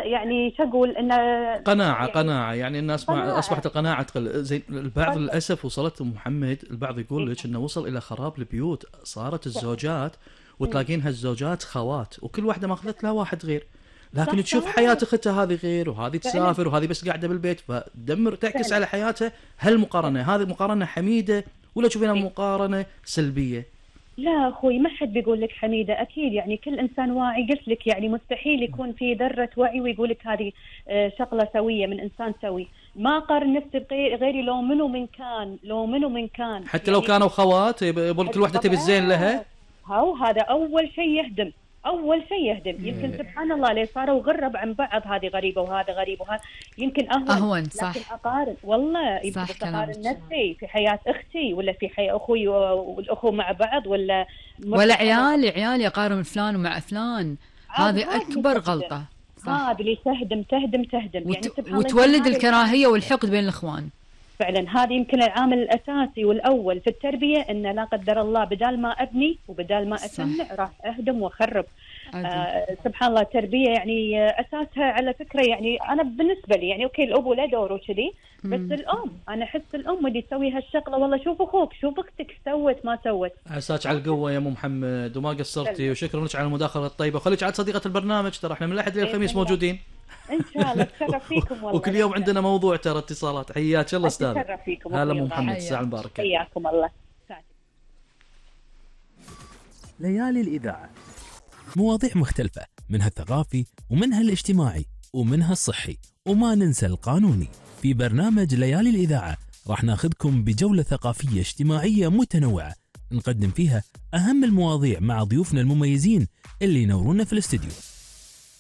يعني شو اقول انه قناعة يعني الناس مع قناعة. أصبحت القناعة تقل. زين البعض قل- للأسف وصلت محمد، البعض يقول إيه. لك إنه وصل إلى خراب البيوت، صارت فعلا. الزوجات أمم. وتلاقينها الزوجات خوات وكل واحدة ماخذت لها واحد غير، لكن صح تشوف حياة صح. أختها هذه غير، وهذه فعلا تسافر وهذه بس قاعدة بالبيت، فتدمر تعكس فعلا. على حياتها. هل مقارنة هذه مقارنة حميدة ولا تشوفينها إيه. مقارنة سلبية؟ لا اخوي، ما حد بيقول لك حميده، اكيد يعني كل انسان واعي، قلت لك يعني مستحيل يكون في ذره وعي ويقول لك هذه شغله سويه من انسان سوي. ما قارن نفسي بغيري، لو منو من كان، لو منو من كان حتى لو يعني. كانوا خوات يقول كل واحدة تبي الزين لها. هاو هذا اول شيء يهدم، اول شيء يهدم. يمكن إيه. سبحان الله ليه صاروا غرب عن بعض، هذه غريبه وهذا غريب وهذا يمكن اهون. أهون لكن صح. اقارن والله يمكن صح بس اقارن كلامك. نفسي في حياه اختي ولا في حياه اخوي والاخوه مع بعض، ولا ولا مرتاحة. عيالي أقارن فلان ومع فلان، عاد هذه هذا اللي أكبر تهدم، غلطة. صح. هذا اللي تهدم يعني سبحان الله. يمكن وتولد هذا الكراهية والحقد بين الإخوان. فعلا هذا يمكن العامل الأساسي والأول في التربية، إن لا قدر الله بدال ما أبني وبدال ما أسمع راح أهدم وأخرب. سبحان الله التربية يعني أساسها على فكرة، يعني أنا بالنسبة لي يعني أوكي الأب له دور وكذي، بس الأم أنا أحس الأم اللي تسوي هالشغلة. والله شوف أخوك، شوف أختك سوت ما سوت. عساك على القوة يا أم محمد وما قصرتي، وشكرا لك على المداخلة الطيبة، وخليك عاد صديقة البرنامج، ترى احنا من الأحد للخميس موجودين إن شاء الله. تشرف فيكم والله. وكل يوم عندنا موضوع، ترى اتصالات. حياك الله استاذ. تشرف فيكم. هلا ام محمد، الساعة المباركة. حياكم الله. ليالي الإذاعة، مواضيع مختلفة، منها الثقافي ومنها الاجتماعي ومنها الصحي، وما ننسى القانوني. في برنامج ليالي الإذاعة راح ناخذكم بجولة ثقافية اجتماعية متنوعة، نقدم فيها أهم المواضيع مع ضيوفنا المميزين اللي ينورونا في الاستديو.